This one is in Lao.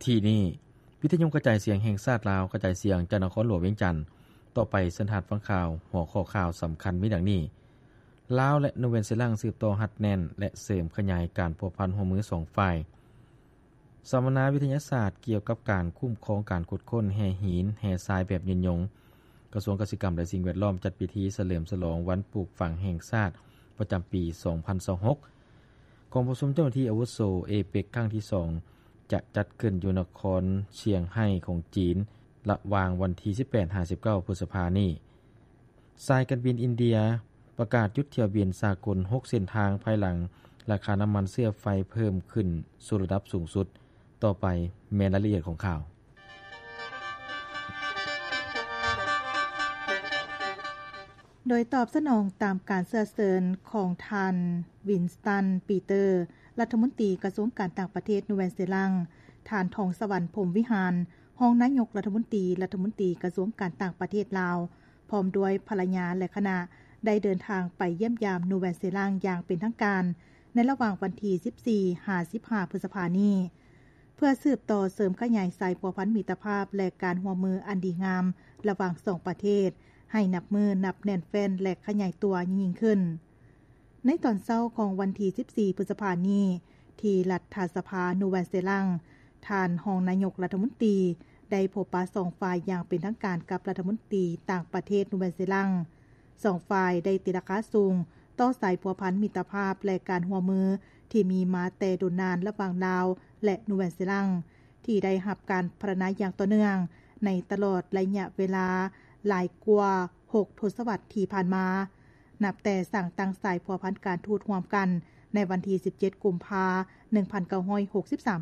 ທີ່ນີ້ ວິທະຍຸກະຈາຍສຽງແຫ່ງຊາດລາວ ກະຈາຍສຽງຈາກນະຄອນຫຼວງວຽງຈັນ. ຕໍ່ໄປເຊີນທ່ານຟັງຂ່າວ. ຫົວຂໍ້ຂ່າວສຳຄັນມີດັ່ງນີ້: ລາວ ແລະ ນູແວນເຊລັງ ສືບຕໍ່ຮັດແໜ້ນ ແລະ ເສີມຂະຫຍາຍການພົວພັນຮ່ວມມືສອງຝ່າຍ. ສຳມະນາວິທະຍາສາດກ່ຽວກັບການຄຸ້ມຄອງການຂຸດຄົ້ນແຮ່ຫີນ, ແຮ່ຊາຍແບບຍືນຍົງ. ກະຊວງກະສິກຳ ແລະ ສິ່ງແວດລ້ອມ ຈັດພິທີສະເຫຼີມສະຫຼອງວັນປູກຝັງແຫ່ງຊາດປະຈຳປີສອງພັນຊາວຫົກ. ກອງປະຊຸມເຈົ້າໜ້າທີ່ອາວຸໂສເອເປັກຄັ້ງທີສອງ ຈະຈັດຂຶ້ນຢູ່ນະຄອນຊຽງໄຮ້ຂອງຈີນ ລະຫວ່າງວັນທີສິບແປດຫາສິບເກົ້າ ພຶດສະພານີ້. ສາຍການບິນອິນເດຍປະກາດຢຸດຖ້ຽວບິນສາກົນຫົກເສັ້ນທາງ ພາຍຫຼັງລາຄານ້ຳມັນເຊື້ອໄຟເພີ່ມຂຶ້ນສູ່ລະດັບສູງສຸດ. ຕໍ່ໄປແມ່ນລາຍລະອຽດຂອງຂ່າວ. ໂດຍຕອບສະໜອງຕາມການເຊື້ອເຊີນຂອງທ່ານ ວິນສະຕັນ ປີເຕີ ລັດຖະມົນຕີກະຊວງການຕ່າງປະເທດນູແວນເຊລັງ, ທ່ານ ທອງສະຫວັນ ພົມວິຫານ ຮອງນາຍົກລັດຖະມົນຕີ, ລັດຖະມົນຕີກະຊວງການຕ່າງປະເທດລາວ ພ້ອມດ້ວຍພັນລະຍາ ແລະ ຄະນະ ໄດ້ເດີນທາງໄປຢ້ຽມຢາມນູແວນເຊລັງຢ່າງເປັນທາງການ ໃນລະຫວ່າງວັນທີສິບສີ່ຫາສິບຫ້າ ພຶດສະພານີ້ ເພື່ອສືບຕໍ່ເສີມຂະຫຍາຍສາຍພົວພັນມິດຕະພາບ ແລະ ການຮ່ວມມືອັນດີງາມລະຫວ່າງສອງປະເທດ ໃຫ້ນັບມື້ນັບແໜ້ນແຟ້ນ ແລະ ຂະຫຍາຍຕົວຍິ່ງໆຂຶ້ນ. ໃນຕອນເຊົ້າຂອງວັນທີສິບສີ່ ພຶດສະພານີ້ ທີ່ລັດຖະສະພານູແວນເຊລັງ, ທ່ານຮອງນາຍົກລັດຖະມົນຕີ ໄດ້ພົບປະສອງຝ່າຍຢ່າງເປັນທາງການກັບລັດຖະມົນຕີຕ່າງປະເທດນູແວນເຊລັງ. ສອງຝ່າຍໄດ້ຕີລາຄາສູງຕໍ່ສາຍພົວພັນມິດຕະພາບ ແລະ ການຮ່ວມມືທີ່ມີມາແຕ່ດົນນານລະຫວ່າງລາວ ແລະ ນູແວນເຊລັງ ທີ່ໄດ້ຮັບການພັດທະນາຢ່າງຕໍ່ເນື່ອງໃນຕະຫຼອດໄລຍະເວລາຫຼາຍກວ່າຫົກທົດສະວັດທີ່ຜ່ານມາ. ນັບແຕ່ສ້າງຕັ້ງສາຍພົວພັນການທູດຮ່ວມກັນໃນວັນທີສິບເຈັດ ກຸມພາ ໜຶ່ງພັນເກົ້າຮ້ອຍຫົກສິບສາມ